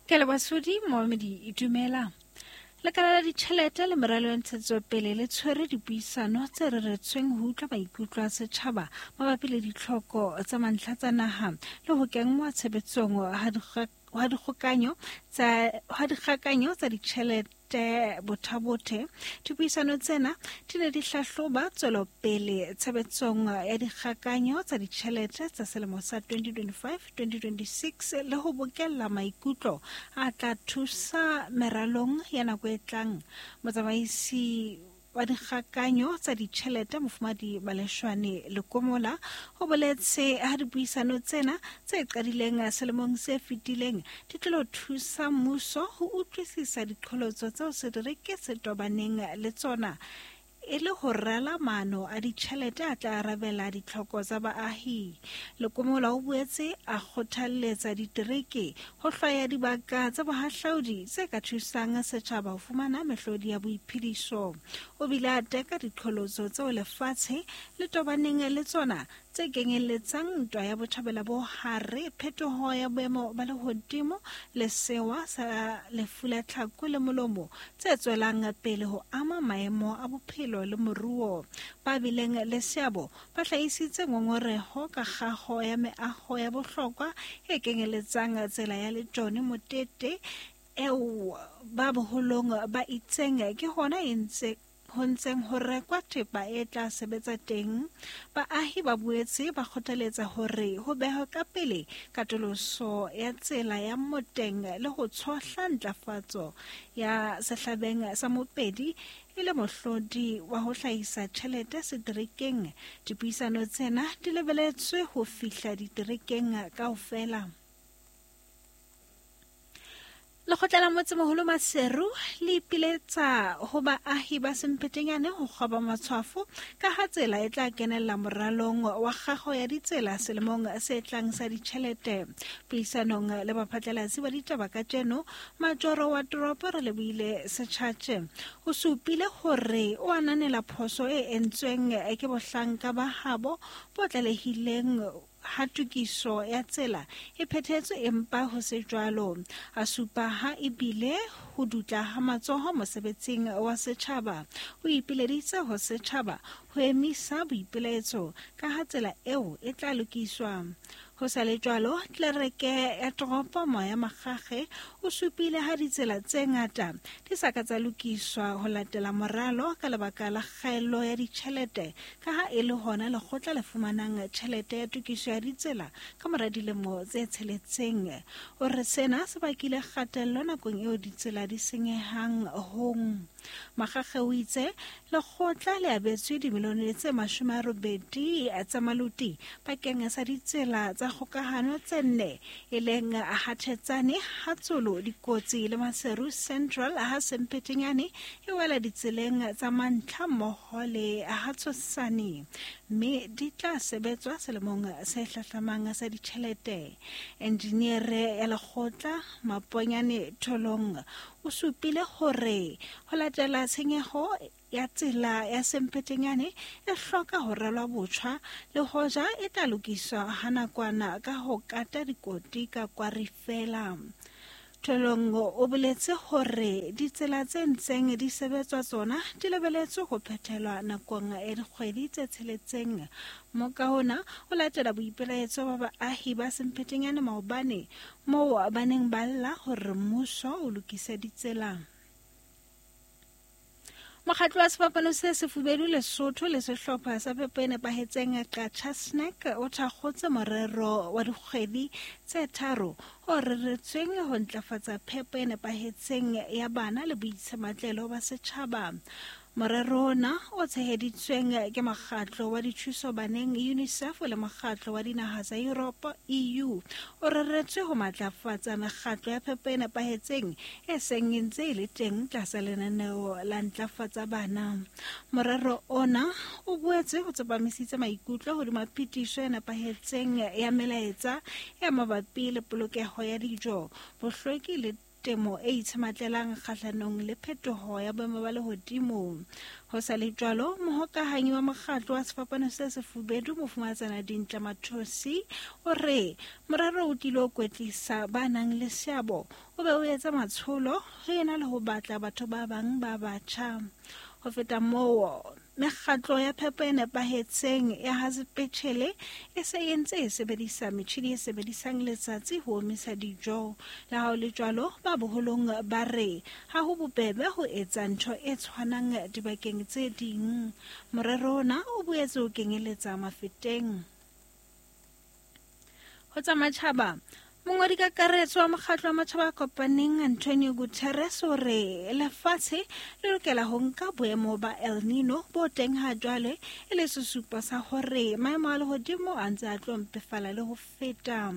Ke leboha Sodi Moamedi dumela. Lekala la ditjhelete le meralo ya ntshetsopele le tshwere dipuisano tse reretsweng ho utlwa maikutlo a setjhaba mabapi le ditlhoko tsa mantlha tsa naha le ho kenngwa tshebetsong ha dikgokanyo tsa ditjhelete bothabothe. Dipuisano tsena di ne di hlahloba tswelopele tshebetsong ya dikgakanyo tsa ditjhelete tsa selemo sa 2025-2026 le ho bokella maikutlo a tla thusa meralong ya nako e tlang. Motsamaisi wa dikgakanyo tsa ditjhelete Mofumadi Maleshwane Lekomola o boletse ha dipuisano tsena tse qadileng selemong se fetileng di tlilo thusa mmuso ho utlwisisa diqholotso tseo setereke se tobaneng le tsona e le ho rala maano a ditjhelete a tla arabela ditlhoko tsa baahi. Lekomola o boetse a kgothalletsa ditereke ho hlwaya dibaka tsa bohahlaudi tse ka thusang setjhaba ho fumana mehlodi ya boiphediso. O bile a teka diqholotso tseo lefatshe le tobaneng le tsona tse kenyelletsang ntwa ya botjhabela bo hare, phetoho ya boemo ba lehodimo le sewa sa lefu la tlhako le molomo tse tswelang pele ho ama maemo a bophelo le moruo. Ba bileng le seabo ba hlahisitse ngongoreho ka kgaho ya meaho ya bohlokwa e kenyelletsang tsela ya Letone Motete eo ba boholong ba itseng ke hona e ntse ho ntseng ho rekwa thepa e tla sebetsa teng. Baahi ba boetse ba kgothaletsa hore ho behwe ka pele katoloso ya tsela ya Moteng le ho tshohla ntlafatso ya sehlabeng sa Mopedi e le mohlodi wa ho hlahisa tjhelete seterekeng. Dipuisano tsena di lebeletswe ho fihla diterekeng kaofela. Lekgotla la Motsemoholo Maseru le ipiletsa ho baahi ba Semphetenyane ho kgoba matshwafo ka ha tsela e tla kenella moralong wa kgago ya ditsela selemong se tlang sa ditjhelete. Puisanong le baphatlalatsi ba ditaba kajeno, majoro wa toropo Relebohile Setjhatje o supile hore o ananela phoso e entsweng ke bohlanka ba habo bo tlalehileng ha tokiso ya tsela e phethetswe empa ho se jwalo. A supa ha ebile ho dutla ha matsoho mosebetsing wa setjhaba. O ipileditse ho setjhaba ho emisa boipilaetso ka ha tsela eo e tla lokiswa. Ho sa le jwalo, tlelereke ya toropo Moya Makgakge o supile ha ditsela tse ngata di sa ka tsa lokiswa ho latela moralo ka lebaka la kgaello ya ditjhelete ka ha e le hona lekgotla le fumanang tjhelete ya tokiso ya ditsela ka mora dilemo tse tsheletseng. O re sena se bakile kgatello nakong eo ditsela di senyehang hong. Makgakge o itse lekgotla le abetswe dimilione tse 80 tsa maluti bakeng sa ditsela tsa kgokahano tse nne e leng Hathetsane, Hatsolo, Dikotsi le Maseru Central ha Semphetenyane e wela ditseleng tsa mantlha mmoho le Hatshosane, mme di tla sebetswa selemong se hlahlamang sa ditjhelete. Enjiniere ya lekgotla Maponyane Tholong o supile hore ho latela tshenyeho ya tsela ya Semphetenyane e hloka ho ralwa botjha le hoja e tla lokiswa ha nakwana ka ho kata dikoti ka kwari fela. Tholong o boletse hore ditsela tse ntseng di sebetswa tsona di lebeletswe ho phethelwa nakong ya dikgwedi tse tsheletseng. Moka ona o latela boipelaetso ba baahi ba Semphetenyane maobane moo ba neng ba lla hore mmuso o lokise ditsela. Mokgatlo wa Sefapano se Sefubedu Lesotho le sehlopha sa phepo e nepahetseng Qacha Snack o thakgotse morero wa dikgwedi tse tharo o reretsweng ho ntlafatsa phepo e nepahetseng ya bana le boitshematlelo ba setjhaba. Morero ona o tsheheditsweng ke mokgatlo wa dithuso baneng UNICEF le mokgatlo wa dinaha tsa Europe EU o reretswe ho matlafatsa mekgatlo ya phepo e nepahetseng e seng e ntse e le teng tlasa lenaneo la ntlafatsa bana. Morero ona o boetse o tsepamisitse maikutlo hodima phetiso e nepahetseng ya melaetsa e mabapi le polokeho ya dijo, bohlweki le temo e itshematlelang kgahlanong le phetoho ya boemo ba lehodimo. Ho sa le jwalo, mohokahanyi wa mokgatlo wa Sefapano se Sefubedu, Mofumahatsana Dintle Mathosi, o re morero o tlilo kwetlisa ba nang le seabo o be o etsa matsholo ho ena le ho batla batho ba bang ba batjha. Ho feta moo, mekgatlo ya phepo e nepahetseng ya ha sepetjhele e se e ntse e sebedisa metjhini e sebedisang letsatsi ho omisa dijo. Le ha ho le jwalo, ba boholong ba re ha ho bobebe ho etsa ntho e tshwanang dibakeng tse ding. Morero ona o boetse o kenyeletsa Mafeteng. Ho tsa matjhaba, mongwadi kakaretso wa mokgatlo wa matjhaba a kopaneng Antonio Guterres o re lefatshe le lokela ho nka boemo ba El Nino bo teng ha jwale e le sesupo sa hore maemo a lehodimo a ntse a tlo mpefala le ho feta.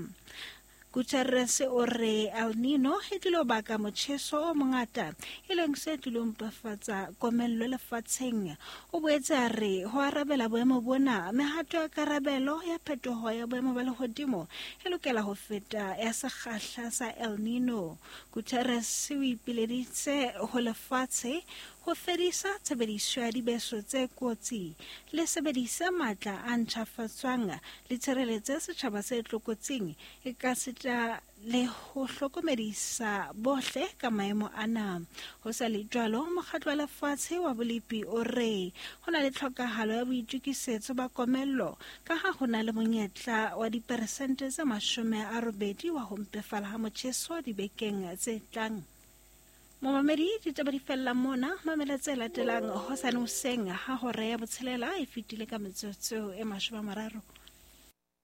Guterres o re El Nino e tlilo baka motjheso o mongata, e leng se tlilo mpefatsa komello lefatsheng. O boetse a re ho arabela boemo bona, mehato ya karabelo ya phetoho ya boemo ba lehodimo e lokela ho feta ya sekgahla sa El Nino. Guterres o ipileditse ho lefatshe ho fedisa tshebediso ya dibeso tse kotsi, le sebedise matla a ntjhafatswang, le tshireletse setjhaba se tlokotsing, ekasita le ho hlokomedisa bohle ka maemo ana. Ho sa le jwalo, mokgatlo wa lefatshe wa bolepi o re ho na le tlhokahalo ya boitokisetso ba komello ka ha ho na le monyetla wa diperesente tse 80 wa ho mpefala ha motjheso dibekeng tse tlang. Momamedi, ditaba di fella mona. Mamela tse latelang hosane hoseng ha hora ya 6 e fetile ka metsotso e 30.